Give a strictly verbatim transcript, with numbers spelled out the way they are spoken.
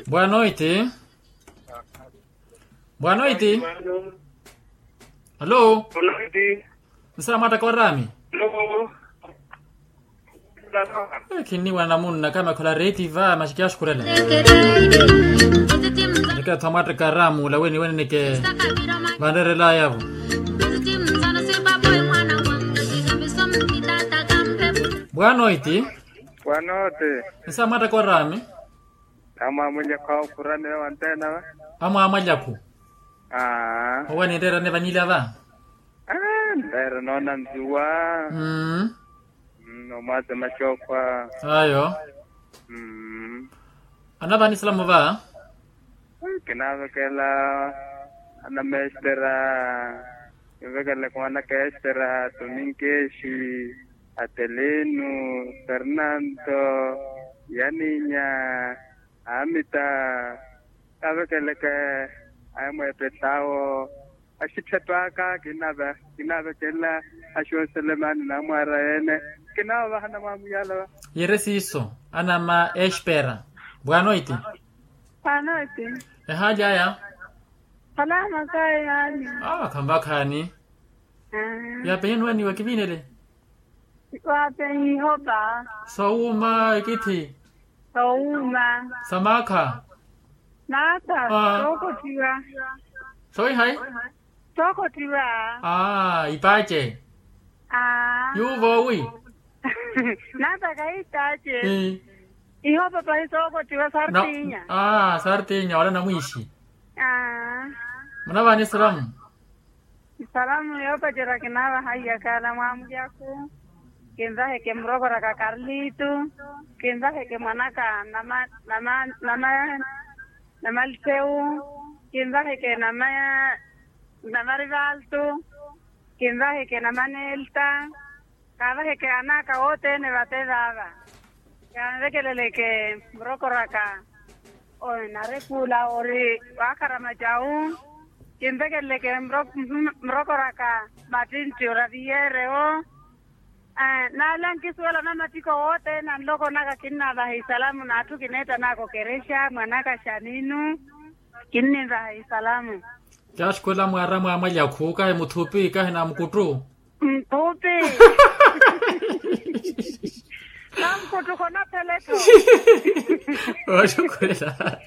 Boa noite. Boa noite. Alô? Nsa mwattaka oraami. Khinniwa namunna kama khola reiti va masi kiyashukhurela. Nike athu amwattaka oraami ula weni weni nike vanrerelayavo. Boa noite. Nsa mwattaka oraami. Amwamwalyaku awo khuraniwe wanteena va. Amwamwalyaku. Owe ninreerane vanilya va. Nreera noona nzuwa. Nomwaza maxokhwa. Ayo. Anavahani salamu va. Kinaavekela anamestera. Kinvekeleke mwanaka estera tominkexi, atelino, fernanto, yaninya, amita. Kaavekeleke aemweepetawo. Axittheto aka kinaavekelela axooselemani namwaara ene. Kinaavaha namwamuyala. Yere siiso anama espera. Bwanoiti. Bwanoiti. Ehaali aya. Khalama kayi haali. Awa khamvakhani. Yapenye nuwaniwa kivinele. Wapenye ihopa. Sowuuma ekithi. Sowuuma. Samaakha. Naata. Sookottiwa. Sowihayi. Sookottiwa. Ipaace. Yuuvo wi. Naata kayi ipaace. Ihopa pahi sookottiwa sartinya. Sartinya wala namwiixi. Munavaani salamu. Salamu yoopacerya kinaavaha iyakhala mwamulyaku. Kinvaheke murokoraka karlitu. Kinvaheke mwanaka namalithewu. Kinvaheke namarivaltu. Kinvaheke namanelta. Kaavaheke anaka wothene vate vaava. Kanvekeleleke murokoraka. Narekuula ori waakharama cawu. Kinvekeleleke murokoraka mattintti ora viyerewo. Naala nkisuwela namattiko wothene anlokonaka kinnaavaha isalamu n'atthu kineettanaka okerexa mwanaka xaninu. Kinninvaha isalamu. Caxukhwela mwaara mwaamwalyaku kahi muthupi kahi namukuttu. Muthupi. Namukuttu khonaphelettho. Waxukhwela.